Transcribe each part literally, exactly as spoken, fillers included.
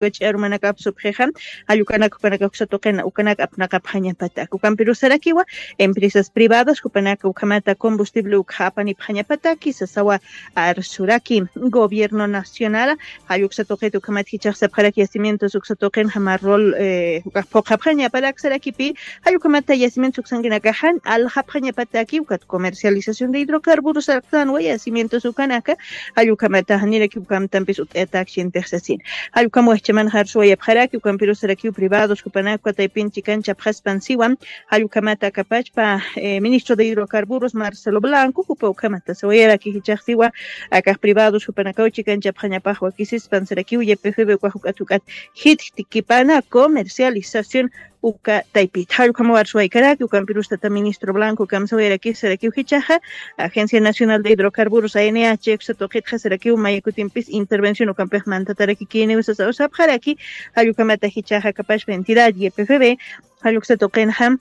ch'arumanakap supxixa, jall ukanak jupanaka uksa tuqina ukanak apnaqapxañapatak. Ukampirusarakiwa empresas privadas jupanaka ukhamata combustible ukxa apanipxañapataki sasawa arsuraki. Gobierno nacional jall uksa tuqit ukhamat jichax sapxaraki yacimientos uksa tuqin jama rol, eh, ukax phuqhapxañaparak sarakipi, jall ukhamata yacimientos uksankinaka jan aljapxañapataki ukat comercialización de hidrocarburos arqtanwa yacimientos ukanaka, jall ukhamata janiraki ukamtampis ut'ayatak sientix sasin. Jall ukham wajchaman jarsuwayapxaraki ukampirusarakiw privados jupanaka ukataypin chikan chapxaspan siwa, jall ukhamata akapachpa, eh, ministro de hidrocarburos Marcelo Blanco jupa ukhamata sawayaraki jichax siwa, akax privados jupanakaw chikan chapxañapax wakisispan sarakiw ypfb ukax juk'at juk'at jitjtikipana comercialización uka taypita. Jall ukham warsuwaykaraki ukampirus tata ministro Blanco kamsawayarakis sarakiw jichaxa, Agencia Nacional de Hidrocarburos A N H uksa tuqitxa sarakiw mayakutimpis intervención ukampix mantatarakikiniw sasaw sapxaraki. Jall ukhamata jichaxa akapachpa entidad ypfb jall uksa tuqinxa,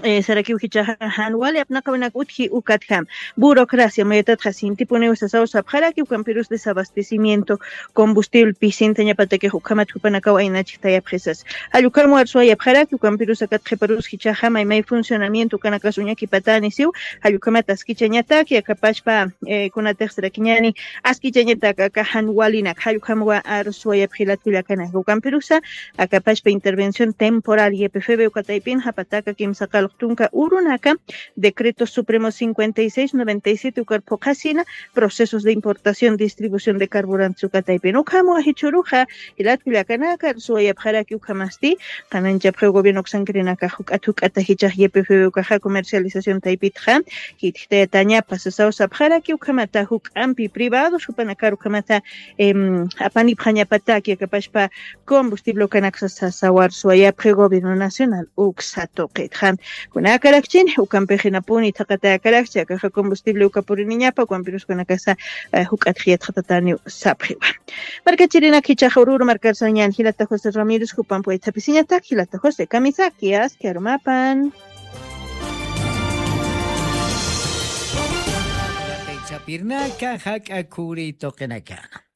eh, sarakiw jichaxa jan wali apnaqawinak utji ukatjam burocracia mayatatxa sintipuniw sasaw sapxaraki ukampirus desabastecimiento combustible pisintañapatakix ukhamat jupanakaw aynachik tayapxisas. Jall ukham warsuwayapxaraki ukampirus akat qhiparus jichaxa maymay funcionamiento ukanakas uñakipatani siw, jall ukhamat askichañataki akapachpa, eh, kunatix sarakiñani askichañatak aka jan walinak. Jall ukham wa arsuwayapxi jilat kullakanaka ukampirusa akapachpa intervención temporal ypfb ukataypin japataka kimsa qalq tunka urunaka decreto supremo cincuenta y seis noventa y siete ukar phuqhasina procesos de importación distribución de carburantes ukataypin. Ukham wajichuruxa jilat kullakanaka arsuwayapxaraki ukhamasti, qananchapxiw gobierno uksankirinaka juk'at juk'ata jichax ypfb ukaxa comercialización taypitxa jitjtayatañapa sasaw sapxaraki ukhamata juk'ampi privados jupanakar ukhamata, em, apanipxañapataki akapachpa combustible ukanaksa sasaw arsuwayapxi gobierno nacional uksa tuqitxa. Kunakarakchini ukampixinapuni thaqatayakarakchi akaxa combustible uka puriniñapa ukampirus kunakasa, eh, juk'atx yatxatataniw sapxiwa. Markachirinak jichaxa ururu markarsañan jilata José Ramírez jupan puwaythapisiñatak jilata José kamisaki aski arumapan. Sapirnaka jak'a khuri tuqinakana.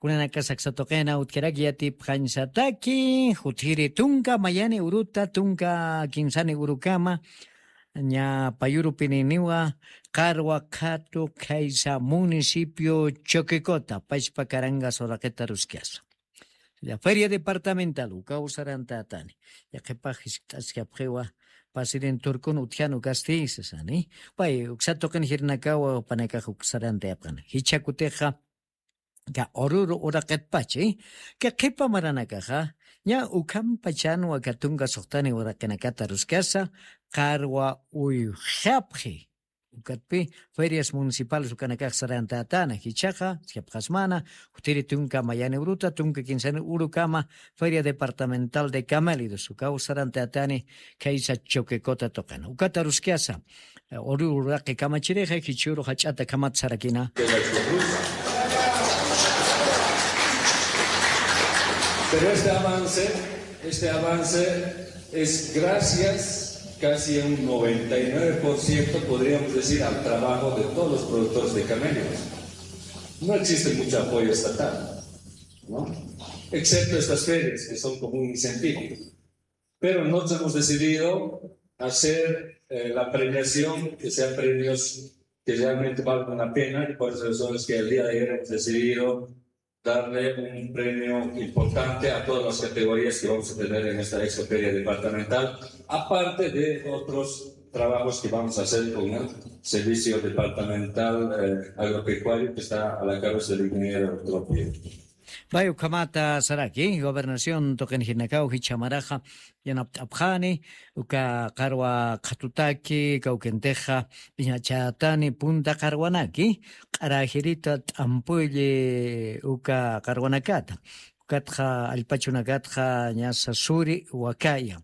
Kunanaka saksa tuqina utjaraki yatipxañsataki jutjiri tunka mayani uruta tunka kinsani urukama ña payurupininiwa qarwa qhatu khaysa municipio Choquecota pachpa carangas uraqita ruskasa. Ya feria departamental ukaw sarantatani. Ya qhipax jiskt'askapxiwa pasirin turkun utjanu kasti sasani. Pay uksa tuqin jirnakawa panakax uk sarantayapxana jichha kutixa ka ururu uraqitpachi ka qhipa maranakaxa ña ukhampachanwa ka tunka suxtani uraqinakata ruskasa qarwa uyxapxi. Ukatpi ferias municipales ukanakax sarantatana jichhaqa jichhapxasmana jutiri tunka mayani uruta tunka kinsani urukama feria departamental de camélidos ukaw sarantatani khaysa choquecota tuqina ukata ruskasa. Uru uraqi kamachirixa jichhuru jach'ata khamat sarakina. Pero este avance, este avance es gracias casi un noventa y nueve por ciento, podríamos decir, al trabajo de todos los productores de camélidos. No existe mucho apoyo estatal, ¿no? Excepto estas ferias que son como un incentivo. Pero nosotros hemos decidido hacer eh, la premiación, que sean premios que realmente valgan la pena, y por eso es que el día de ayer hemos decidido darle un premio importante a todas las categorías que vamos a tener en esta expo feria departamental, aparte de otros trabajos que vamos a hacer con el servicio departamental eh, agropecuario que está a la cabeza del ingeniero Tropio. Pay ukhamata saraki gobernación tuqinjinakaw jichhamaraxa yanapt'apxani uka qarwa qhatutaki kawkintixa iñachätani punta qarwanaki q'arajirita t'ampulli uka qarwanakata ukatxa allpachunakatxa ñasa suri wakaya.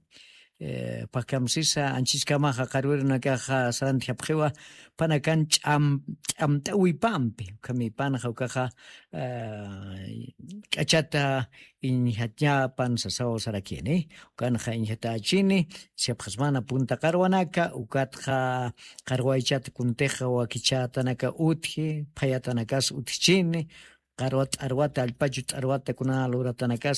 Pakhamsisa anchiskamaxa qarwirunakaxa sarantjapxiwa panakan ch'amt'awipampi ukhamipanxa ukaxa k'achata iñjañapan sasaw sarakini ukanxa iñjatachini siyapxasmana punta qarwanaka ukatxa qarwaychat kuntixa wakichatanaka utji phayatanakas utjchini. qarwa t'arwata allpachu t'arwata kuna luratanakasa.